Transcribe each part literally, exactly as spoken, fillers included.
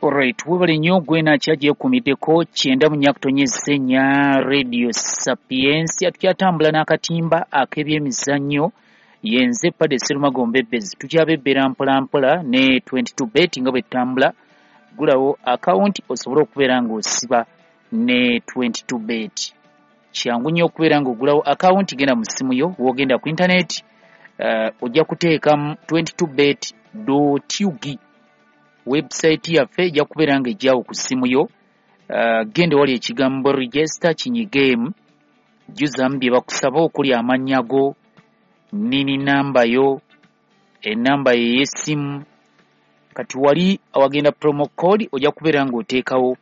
Alright, webale nnyo gwena kyagyekuumiddeko kyenda mu nnya kutonyeza ennya Radio Sapientia. Tukyatambula n'akatimba ak'ebyemizannyo. Yenze Pade Serumagombe Bezi, tukyabebbera mpolampola ne twenty-two bet nga bwe tutambula. Gulawo akawunti osobole okubeera ng'osiba ne twenty-two bet. Kyangu nnyo okubeera ng'ogulawo akawunti. Genda mu ssimu yo, w'ogenda ku internet, uh, ojja kuteekamu twenty-two bet ug, website yaffe ejja kubeera nga ejjawo ku ssimu yo. uh, genda wali ekigambo "register", kinyigeemu, jjuzamu bye bakusaba okuli amannya go, nini, namba yo, enamba yo ey'essimu. Kati wali awagenda promo code ojja kubeera ng'oteekawo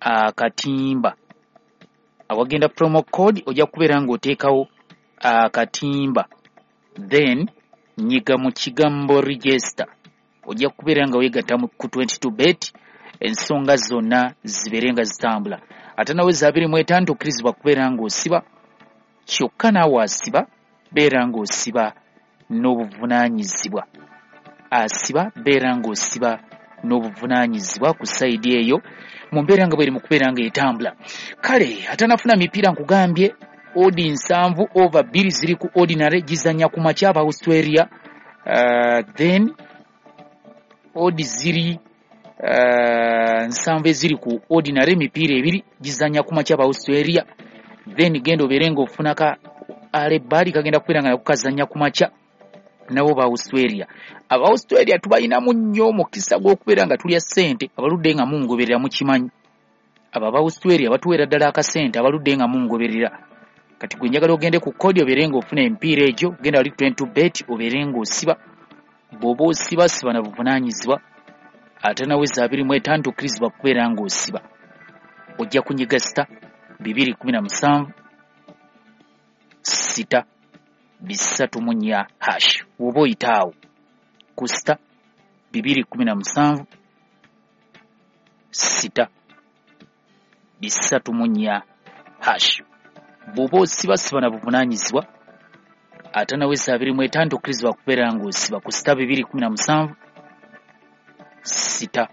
akatimba. Awagenda promo code ojja kubeera ng'oteekawo akatimba, then nyiga mu kigambo "register". Ojja kubeera nga weegatta ku twenty-two bet, ensonga zonna zibeere nga zitambula. Ate nawe za abiri mu etaano tokkirizibwa kubeera ng'osiba. Kyokka naawe asiba, beera ng'osiba n'obuvunaanyizibwa. Asiba, beera ng'osiba n'obuvunaanyizibwa ku side eyo mu mbeera nga bweri mu kubeera ng'etambula. Kale atanafuna mipiira, nkugambye odd nsanvu over bbiri ziri ku ordinary, gizanya ku makya aba Australia. uh, then odd ziri uh, nsanvu eziri ku ordinary, emipiira ebiri gizanya ku makya aba Australia. Then genda obeere ng'ofunaka alebaali kagenda kubeera nga nako kazanya ku makya nabo ba Australia. Aba Australia tubalinamu nnyo omukisa gw'okubeera nga tulya ssente. Abaludde nga mungoberera mukimanyi, abo aba Australia batuweera ddala akasente. Abaludde nga mungoberera, kati gwe njagala ogende ku code obeere ng'ofuna emipiira egyo. Genda wali twenty-two bet obeere ng'osiba. Bw'oba osiba, siba na buvunaanyizibwa. Ate naweza abiri mu etaano tokkirizibwa kubeera ng'osiba. Ojja kunyiga star bibiri kumi na musanvu star bisatu mu nnya hash. Woba oyita awo ku star bibiri kumi na musanvu star bisatu mu nnya hash. Bw'oba osiba, siba na buvunaanyizibwa. Ate naweza abiri mu etaano tokkirizibwa kubeera ng'osiba ku star bibiri kumi na musanvu star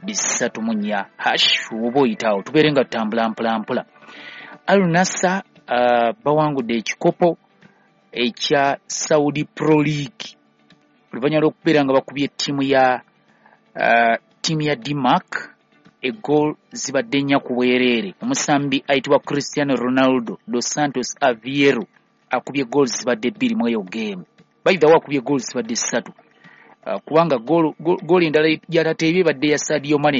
bisatu mu nnya hash. Woba oyitaawo, tubeere nga tutambula mpolampola. Al Nassr uh, bawangudde ekikopo ekya Saudi Pro League oluvannyuma lw'okubeera nga bakubye ttiimu ya uh, ttiimu ya Damac egoal zibadde nnya ku bwereere. Omusambi ayitibwa Cristiano Ronaldo dos Santos Aveiro akubye goal zibadde bbiri mu eyo game. By the way, akubye goal zibadde ssatu, uh, kubanga goal endala gyatateebye ebadde ya Sadio Mane.